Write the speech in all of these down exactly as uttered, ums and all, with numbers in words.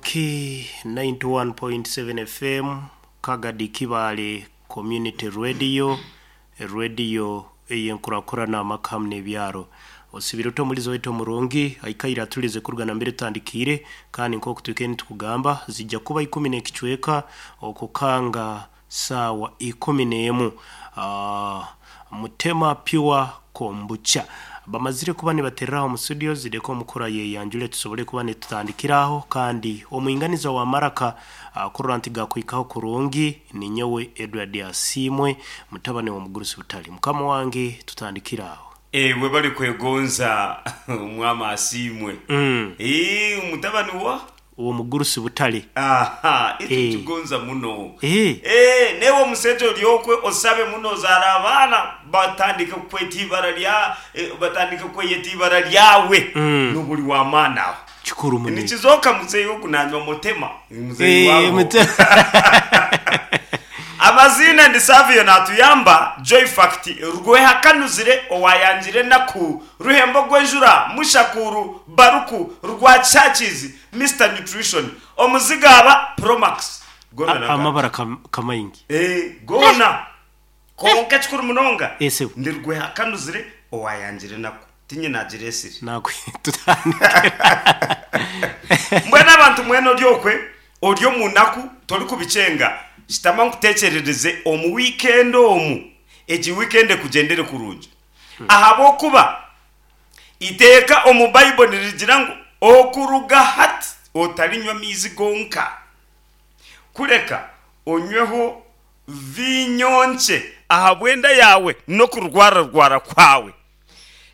K ninety-one point seven F M, Kagadi Kibaale Community Radio, radio eyenkurakurana amaka n'ebyaro. Osibire omulizo wetu omurungi aikaire atulize kurugana mbere tutandikire, kandi nk'oku twikene tukugamba zijja kuba ikumi n'ekicweka okukanga saawa ikumi n'emu. Uh, Mutema Pure Kombucha bamazire kuba nibatereraho mu studio zireko omukura yeyanjule tusobole kuba nitutandikiraho, kandi omwinganiza wa maraka uh, kurora nti gakwikaho kurungi ni nyowe Edward Asimwe mutabane wa Mugurusi Butali. Mukama wange tutandikiraho. Ewe bali kwegonza omwama Asimwe. Mm. Eh, mutabani wa uwo Mugurusi Butali. Aha, ito tugonza muno. Eh. Eh, newe omusejo lyokwe osabe muno zara abana batandika kweta ibara lya eh, batandika kweyeta ibara lyawe. Mm. Nubuli wa mana. Chikuru munene. Nikizoka muzeyi okunanywa mutema. Muzeyi Eh, wabo. mutema. Amazina ndi Savio natuyamba Joy Fact rwehakanuzire owayanjire naku ruhembo gwenjura mushakuru baruku rwa churches Mister Nutrition omuzigaba Promax gona A- amabara kam, kamayingi eh gona konka chikuru munonga ese ndi rwehakanuzire owayanjire naku tinye nagiresire nakwe tutandike mbwena abantu mweno lyokwe olyo munaku toli kubicenga shitama nkutekerereze omu weekend omu eki weekend kugendere kurungi hmm. Ahabokuba iteeka omu Bible nirigira ngu okuruga hati otalinywa mizi gonka kureka onyweho vinyonche ahabwenda yawe no kurwara rwara kwawe.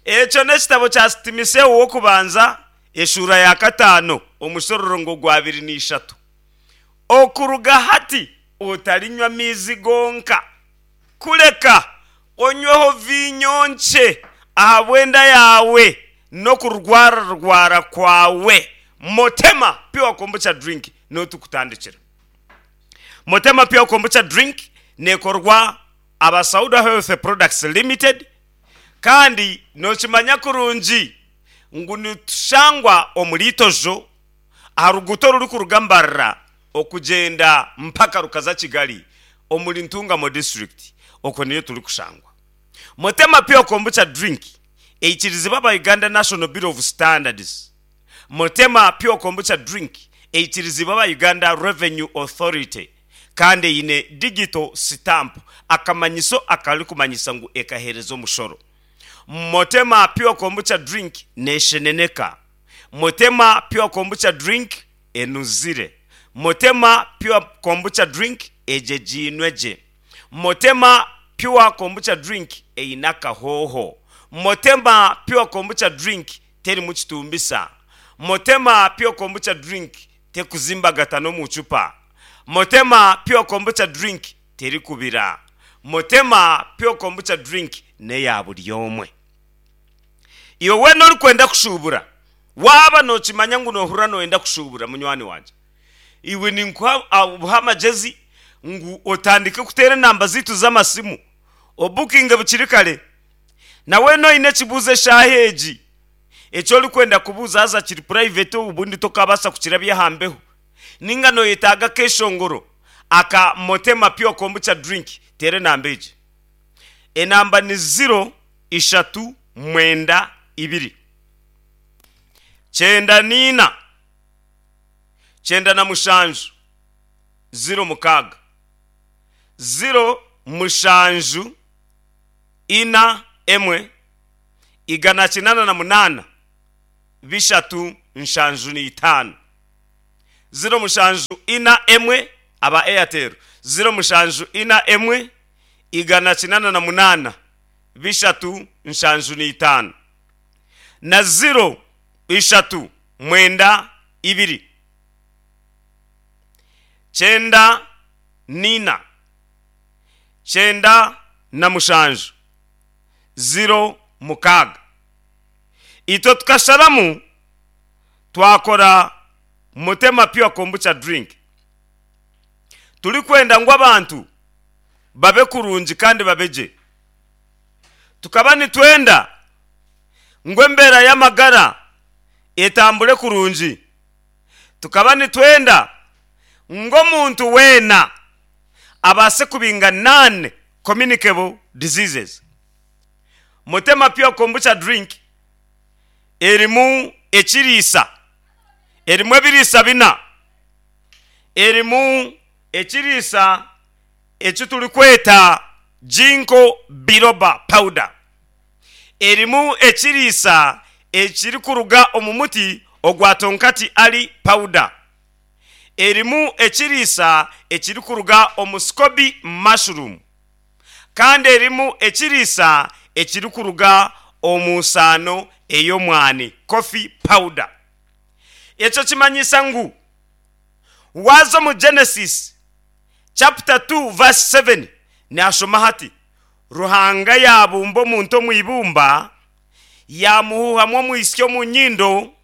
Ekyo n'ekitabo kya Timoteyo wokubanza eshura ya katano omushororongo gwa abiri n'ishatu. Okuruga hati otalinywa mizi gonka kureka onyweho vinyonche ahabwenda yawe no kurwara rwara kwawe. Motema Pure Kombucha drink no tukutandikira. Motema Pure Kombucha drink nekorwa Abasauda Health Products Limited, kandi nokimanya kurungi ngu nitushangwa omuritojo aharuguto ruri kurugambarra okugenda mpaka rukaza Kigali omuri Ntungamo district, oko niyo turi kushangwa. Motema Pure Kombucha drink eikirizibwa aba Uganda National Bureau of Standards. Motema Pure Kombucha drink eikirizibwa aba Uganda Revenue Authority, kandi eine digital stamp akamanyiso akari kumanyisa ngu ekahereza omushoro. Motema Pure Kombucha drink nesheneneka. Motema Pure Kombucha drink enuzire. Motema Pure Kombucha drink ejejinweje. Motema Pure Kombucha drink einaka hoho. Motema Pure Kombucha drink teri mukitumbisa. Motema Pure Kombucha drink tekuzimba no muchupa. Motema Pure Kombucha drink teri kubira. Motema Pure Kombucha drink neya buri omwe. Iwe wena ori kwenda kushubura, waba nokimanya ngu nohura noyenda kushubura munywani wanje, iwe ninkuha amagezi ngu otandike kutera enamba zitu z'amasimu obukinge bukiri kare. Nawe noine ekibuuzo eshaaha egi ekyo orikwenda kubuuza haza kiri private obundi tokabasa kukirabya ahambeho, ninga noyetaaga akeshongoro aka Motema Pure Kombucha drink, tera enamba egi. Enamba ni zero ishatu mwenda ibiri kyenda nina kyenda na mushanju zero mukaaga zero mushanju ina emwe igana kinana na munana bishatu nshanju n'itaano zero mushanju ina emwe aba Airtel zero mushanju ina emwe igana kinana na munana bishatu nshanju n'itaano na zero ishatu mwenda ibiri kyenda nina kyenda na mushanju zero mukaaga. Itwe tukasharamu twakora Motema Pure Kombucha drink. Turi kwenda ngu abantu babe kurungi kandi babeje. Tukaba nitwenda ngu embera y'amagara etambure kurungi. Tukaba nitwenda ngu omuntu weena abaase kubinga non communicable diseases. Mutema Pure Kombucha drink erimu ekiriisa, erimu ebiriisa bina, erimu ekiriisa eki turikweta ginkgo biloba powder, erimu ekiriisa ekirikuruga omu muti ogwa Tongkat Ali powder, erimu ekiriisa ekirikuruga omu scoby mushroom, kandi erimu ekiriisa ekirikuruga omu nsaano ey'omwani, coffee powder. Ekyo kimanyisa ngu waaza omu Genesis chapter two verse seven, nashoma hati Ruhanga yabumba omuntu omu ibumba, yamuhuhamu omwisyo omu nyindo,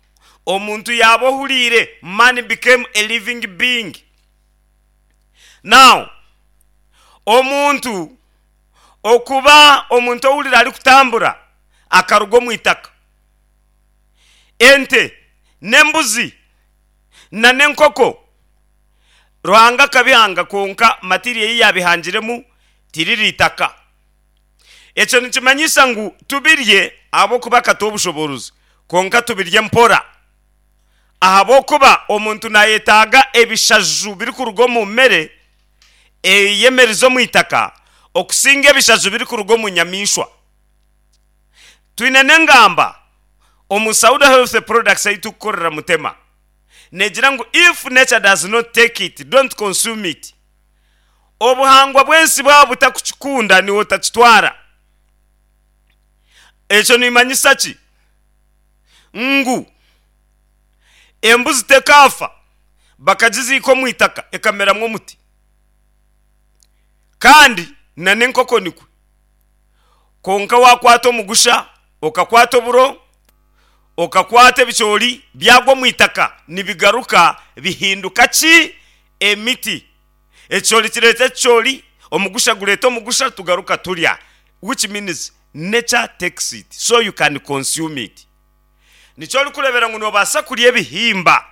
omuntu yaba ohuriire, man became a living being. Now omuntu okuba omuntu owurira arikutambura akaruga omu itaka, ente n'embuzi na n'enkoko Ruhanga akabihanga, konka material ei yabihangiremu tiriri itaka. Ekyo nikimanyisa ngu tubirye ahabw'okuba akatuha obushoborozi, konka tubirye mpora, ahabw'okuba omuntu nayetaaga ebishaju birikuruga omu mere eyemerize omu itaka okusinga ebishaju birikuruga omu nyamaishwa. Twine n'engamba omu Sauda Health Products ei tukukorera Mutema, negira ngu if nature does not take it, don't consume it. Obuhangwa bw'ensi bwaba butakukikunda, niwe otakitwara. Ekyo nimanyisa ki? Ngu embuzi tekaafa bakagiziika omu itaka ekameramu omuti, kandi na n'enkoko nikwe. Konka wakwata omugusha, okakwata oburo, okakwata ebicoori, byagwa omu itaka nibigaruka bihinduka ki? Emiti. Ekicoori kireeta ekicoori, omugusha gureeta omugusha, tugaruka turya, which means nature takes it so you can consume it. Nikyo orikureebera ngu noobaasa kurya ebihimba,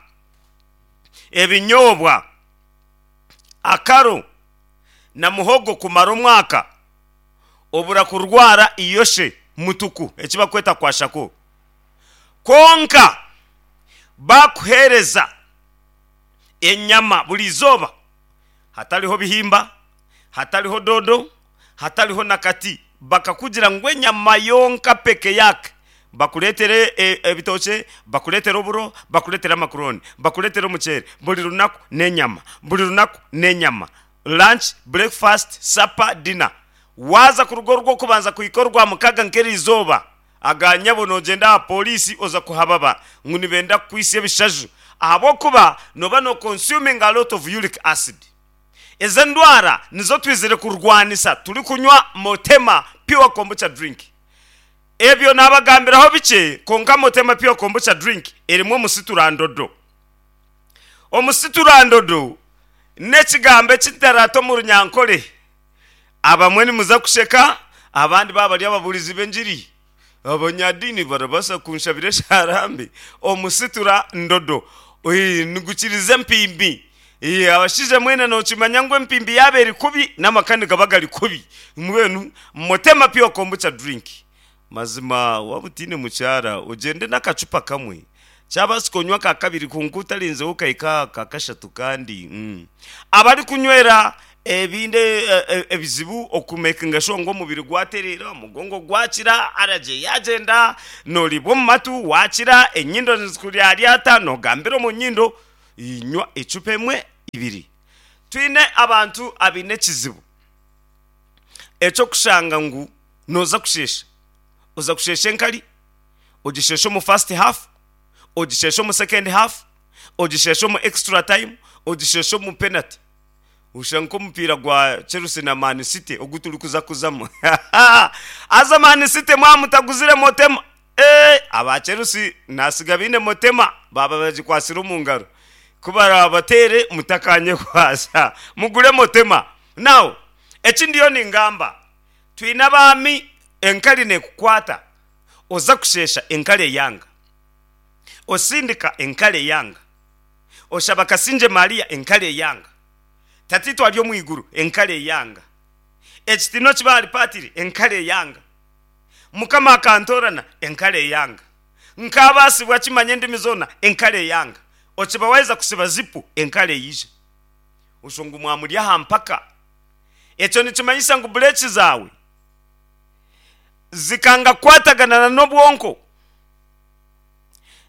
ebinyoobwa, akaro na muhogo kumara omwaka, obura kurwara iyoshe mutuku eki bakweta kwashiorkor. Konka bakuheereza enyama buri izooba, hatariho bihimba, hatariho dodo, hatariho nakati, bakakugira ngu enyama yonka peke yake, bakureetere ebitookye, bakureetere oburo, bakureetere amakuroni, bakureetere omuceeri buri runaku n'enyama, buri runaku n'enyama, lunch, breakfast, supper, dinner, waaza kuruga orw'okubanza kuhika orwa mukaga nk'eri izooba, aganyabo nogyenda aha polisi oza kuhababa ngu nibenda kukwisa ebishaju, ahabw'okuba noba no consuming a lot of uric acid. Ezo endwara nizo twizire kurwanisa turikunywa Motema Pure Kombucha drink. Ebyo nabagambiraho bikye, konka Motema Pure Kombucha drink erimu omusiturandodo. Omusiturandodo n'ekigambo ekitarata omu Runyankore. Abamwe nimuza kusheka, abandi baba bari ababurizi b'engiri, abanyadiini barabaasa kunshabira esharambi. Omusitura ndodo nigukiriza empimbi. Abashaija mwena nokimanya ngu empimbi yaaba eri kubi, n'amaka nigaba gari kubi. Mbwenu Motema Pure Kombucha drink, mazima waaba otiine mukyara, ogyende n'akacupa kamwe, kyabaasika onywe aka kabiri, kwonka otarenzeho okahika aha ka kashatu. Kandi abarikunywera ebindi ebizibu okumakinga sure ngu omubiri gwatereera, omugongo gwakira, allergy yagyenda, nooriibwa omu matu wakira, enyindo nizikuryaaryata, noogambira omu nyindo, nywa ecupa emwe, ibiri. Twine abantu abaine ekizibu eky'okushanga ngu nooza kusheesha, oza kusheesha enkari, ogishesha omu first half, ogishesha omu second half, ogishesha omu extra time, ogishesha omu penalty. Oshusha nk'omupiira gwa Chelsea na Man City ogu turikuza kuzamu. Haza Man City mwaba mutaguzire Motema, ee aba Chelsea nasiga baine Motema baba bagikwatsire omu ngaro. Ku barabateere mutakanyekwasa, mugure Motema. Now eki ndiyo ningamba, twine abaami enkari neekukwata, oza kusheesha enkari eyanga, osindika enkari eyanga. Oshaba Kasingye Maria, enkare eyanga. Tatiitwe ari omu iguru, enkare eyanga. Ekitiinwa kibe ahari Paatiri, enkare eyanga. Mukama akantoorana, enkare eyanga. Nkaabaasibwa kimanya endimi zoona, enkare eyanga. Okiba waaheza kusiba zipu, enkare eija. Osho ngu mwamuri aha mpaka. Ekyo nikimanyisa ngu bureeki zaawe zikanga kukwatagana n'obwonko.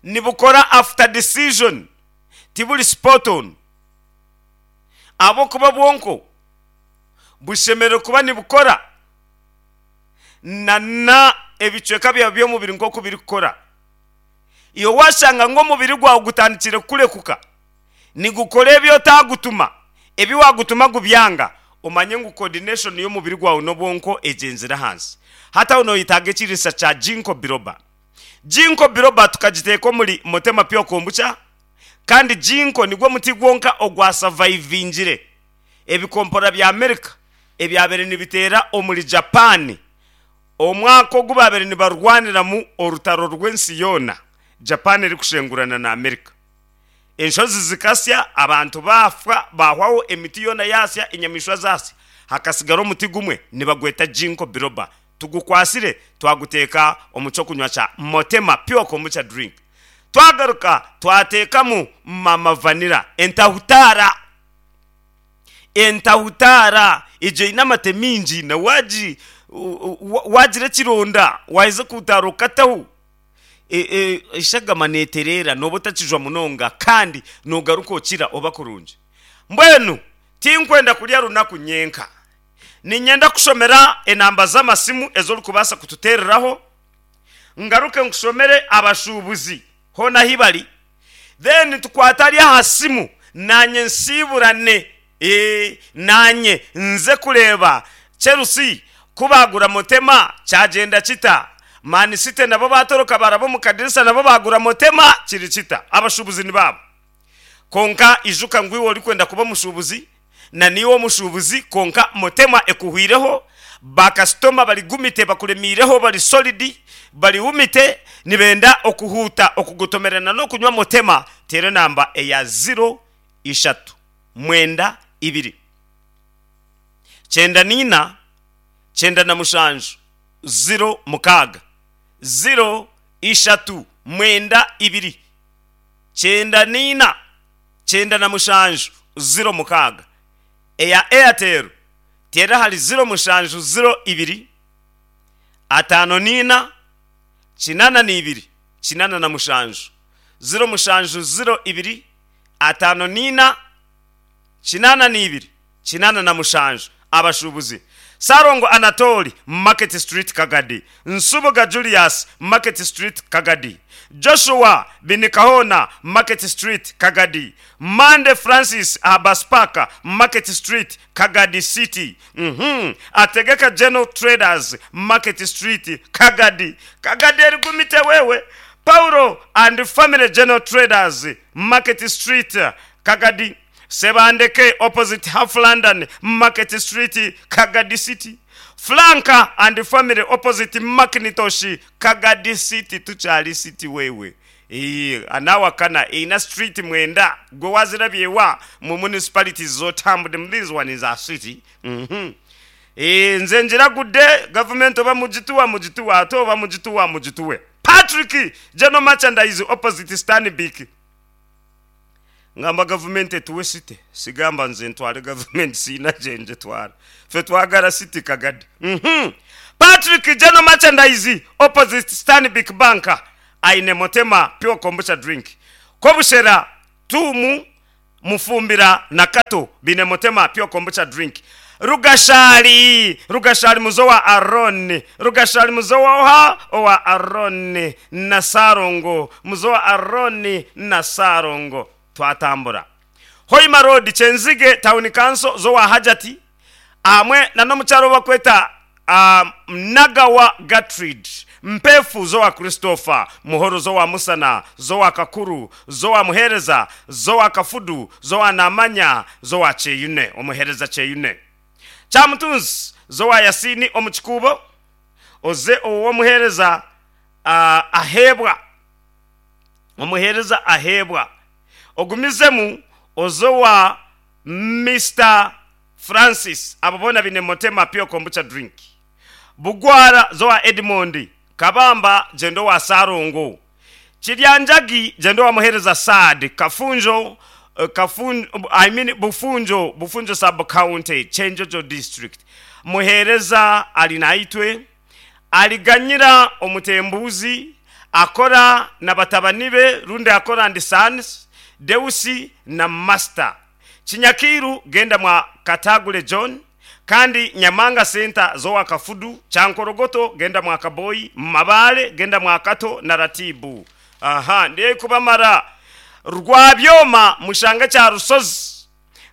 Nibukora after decision, tiburi spot on. Ahabw'okuba obwonko bushemereire kuba nibukora na ebicweka byawe by'omubiri nk'oku birikukora. Iwe waashanga ngu omubiri gwawe gutandikire kukurekuka, nigukora ebi otaagutuma, ebi waagutuma gubyanga, omanye ngu coordination y'omubiri gwawe n'obwonko egyenzire ahansi. Hati aho nooyetaaga ekiriisa kya Ginkgo Biloba. Ginkgo Biloba tukagiteeka omuri Motema Pure Kombucha, kandi Ginkgo nigwo muti gwonka ogwasavaivingire ebikompora bya Amerika ebyabaire nibiteera omuri Japan omwaka ogu baabaire nibarwaniramu orutaro rw'ensi yoona, Japan erikushengurana na Amerika. Enshozi zikasya, abantu baafa baahwaho, emiti yoona yaasya, enyamaishwa zaasya, hakatsigara omuti gumwe nibagweta Ginkgo Biloba. Tugukwatsire twaguteeka omu ky'okunywa kya Motema Pure Kombucha Drink. Twagaruka twateekamu Mama Vanilla, entahutaara. Entahutaara egyo eine amate maingi na waagi waagira ekironda waaheza kuhutaara okataho, eshagama neetereera nooba otakijwa munonga kandi noogaruka okira oba kurungi. Mbwenu tinkwenda kurya runaku nyenka. Niinyenda kushomera enamba z'amasimu ezi orikubaasa kututeereraho, ngaruke nkushomere abashuubuzi hoona ahi bari, then tukwate ari aha simu naanye nsiiburane, ee naanye nze kureeba Chelsea ku baagura Motema kyagyenda kita, Man City nabo baatoroka baaraba omu kadirisa nabo baagura Motema kiri kita. Abashuubuzi nibaabo. Kwonka ijuka ngu iwe orikwenda kuba omushuubuzi na naiwe omushuubuzi kwonka Motema ekuhwireho, baakasitoma bari gumite bakuremiireho bari solidi, bari wumite nibenda okuhuuta okugotomerana n'okunywa Motema, teera enamba eya ziro ishatu mwenda ibiri kyenda naina kyenda na mushanju ziro mukaaga, ziro ishatu mwenda ibiri kyenda naina kyenda na mushanju ziro mukaaga. Eya Airtel teera ahari ziro mushanju ziro ibiri ataano naina kinaana na ibiri kinaana na mushanju, ziro mushanju ziro ibiri ataano naina kinaana na ibiri kinaana na mushanju. Abashuubuzi, Ssalongo Anatoli, Market Street Kagadi, Nsubuga Julius, Market Street Kagadi, Joshua Binikahoona, Market Street Kagadi, Mande Francis aha Bus Park, Market Street Kagadi City, uhmm, Ategeka General Traders, Market Street Kagadi, Kagadi erigumite wewe, Paulo and Family General Traders, Market Street Kagadi, Sebandeke opposite Half London, Market Street, Kagadi City, Flanka and Family opposite Macintosh, Kagadi City, Tukyali City wewe. Ii, Anawakana eine street mwenda gwe wazirabye wa mu municipalities z'otambudemu this one is a city. Uhmm. Ii, nze ngiragudde gavumenti oba mugituwa mugituwe ate oba mugituwa mugituwe. Patrick General Merchandise opposite Stanbic. Ngamba gavumenti etuwe city, sigamba nze ntware gavumenti siina gye ngitwara. Ffe twagara city Kagadi. Uhmm. Patrick General Merchandise opposite Stanbic Bank aine Motema Pure Kombucha Drink. Kobushera, Tuumu, Mufumbira na Kato baine Motema Pure Kombucha Drink. Rugashari, Rugashari muze owa Arooni, Rugashari muze owa oha? Owa Arooni na Ssalongo, muze owa Arooni na Ssalongo. Twatambura. Hoima Road, Kyenzige Town Council, z'owa Hajati hamwe na n'omukyara ou barikweta Nagawa Gertrude, Mpeefu z'owa Christopher, Muhoro z'owa Musana, z'owa Kakuru, z'owa Muheereza, z'owa Kafudu, z'owa Namanya, z'owa Kyeyune, Omuheereza Kyeyune. Kyamutunzi z'owa Yasiini omu Kikuubo, oze ow'omuheereza Aheebwa, Omuheereza Aheebwa. Ogumizemu ozowa Mister Francis, abo boona bine Motema Pure Kombucha drink. Bugwara zowa Edmond, Kabamba gyenda owa Sarongo. Kiryanjagi gyenda owa Muhereza Saad, Kafunjo eh, Kafun, I mean Bufunjo, Bufunjo sub county, Kyenjojo district. Muhereza ali naitwe aliganyira omutembuzi akora na batabani be rundi akora and sons Deusi na Master. Kinyakiru genda mwa Katagule John, kandi Nyamanga Center zowa Kafudu, Chankorogoto genda mwa Kaboyi, Mabale genda mwa Kato na Ratibu. Aha, ndiye kubamara Rwabyoma mushanga kya Rusozi,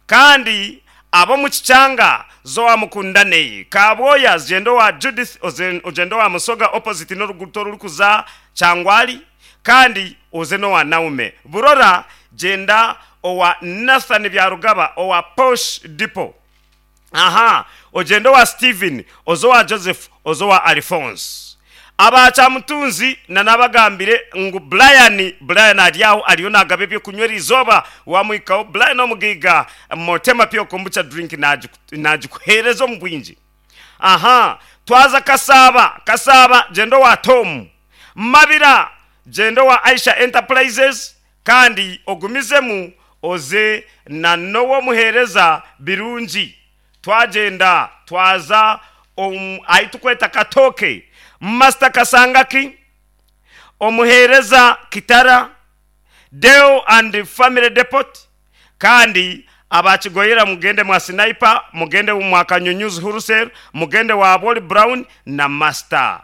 kandi abo mu Kicyanga zowa Mukundane, Kaboya zendo wa Judith ozen- ojendo wa Musoga opposite n'oruguto rurikuza Kyangwali, kandi oze n'owa Naume. Burora genda owa Nathan Byarugaba owa Posh Depot. Aha, ogende wa Steven, ozo wa Joseph, ozo wa Alphonse. Abakyamutunzi nanabagambire ngu Brian, Brian ari aho ariyo nagaba ebyokunywa eriizooba wamwikaho Brian omugiga Motema Pure Kombucha drink nagikuhereza omu bwingi. Aha, twaza Kasaba, Kasaba genda wa Tom. Mabira genda wa Aisha Enterprises, kandi ogumizemu oze na nowo muhereza birungi. Twagenda twaza um, aitukweta Katoke, Master Kasangaki, omuhereza Kitara, Deo and Family Depot, kandi abakigoyera mugende mwa Sniper, mugende mwa Kanyunyuzi Wholesale, mugende wa Boli Brown na Master.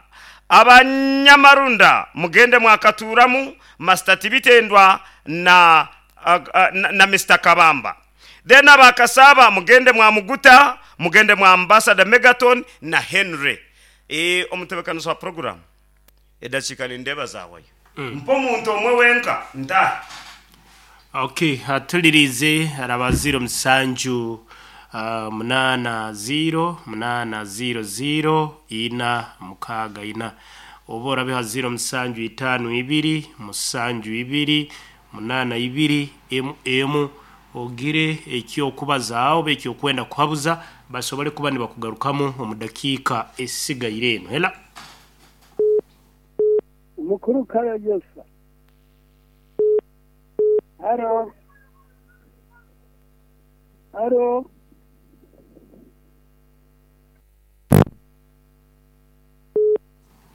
Abanyamarunda mugende mwa Katuramu, Master Tibitendwa na, uh, uh, na, na Mister Kabamba. Then abakasaba mugende mwa Muguta, mugende mwa Ambassador Megaton na Henry. E, omutebekaniso wa program edakika nindeba zawayo mm. Mpo muntu omwe wenka nta Okay, atulirize araba zero musanju uh, munana zero munana zero zero ina mukaga ina, oba orabiha zero musanju itanu ibiri musanju ibiri munana ibiri emu emu, ogire ekyokubaza oba ekyokwenda kuhabuza basobole kuba nibakugarukamu omu dakiika esigaire eno. Hela Umukuru Karayosa. Haro. Haro.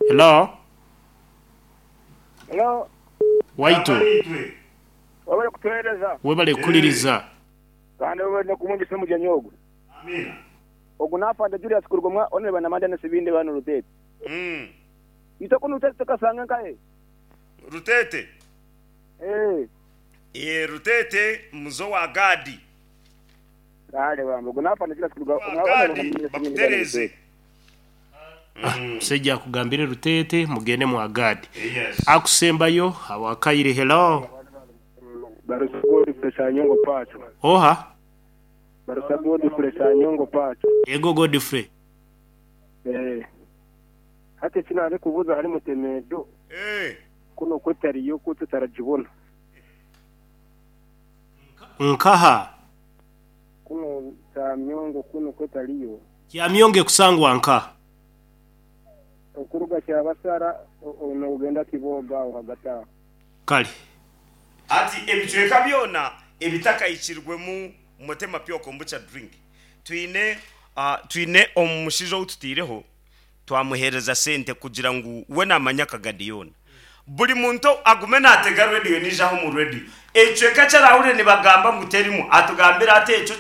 Hello. Hello. Waitu Wabale kutuhereza. Webale kuliriza. Kandi wabale kumwingisa mujyanyi ogwo. Amina. Ogu nafanda Julius Kurugomwa onere banamanda nesibinde bano Rutete. Mm. Itoko nutete tukasanga nkaye. Rutete. Eh. E Rutete muzo wa Gadi. Kale bambo ogu nafanda Julius Kurugomwa Gadi bakutereze. Musajja akugambire Rutete mugende mu Agadi. Yes. Akusembayo awakaire. Hello. Barusa Godfrey Sanyongo Pacho. Oha. Barusa Godfrey Sanyongo Pacho. Ego Godfrey. Eh. Hati sinari kubuza hari mutemedo. Eh. Kuno kwetariyo kututarajibona. Nkaha. Kuno Kyamyongo kuno kwetariyo. Kyamyonge kusangwa nka. Okuruga kyabasara ono ugenda Kiboga aho hagati aho. Kale. Ati ebicweka byona ebitakayikirwemu Motema Pure Kombucha drink. Twine uh, twine omushijo ututireho twamuhereza sente kugira ngu we namanya kagadiyona. Buli muntu agume natega radio nijaho mu radio. Ecweka kyarahurire nibagamba ngu terimu atugambira ate ekyo.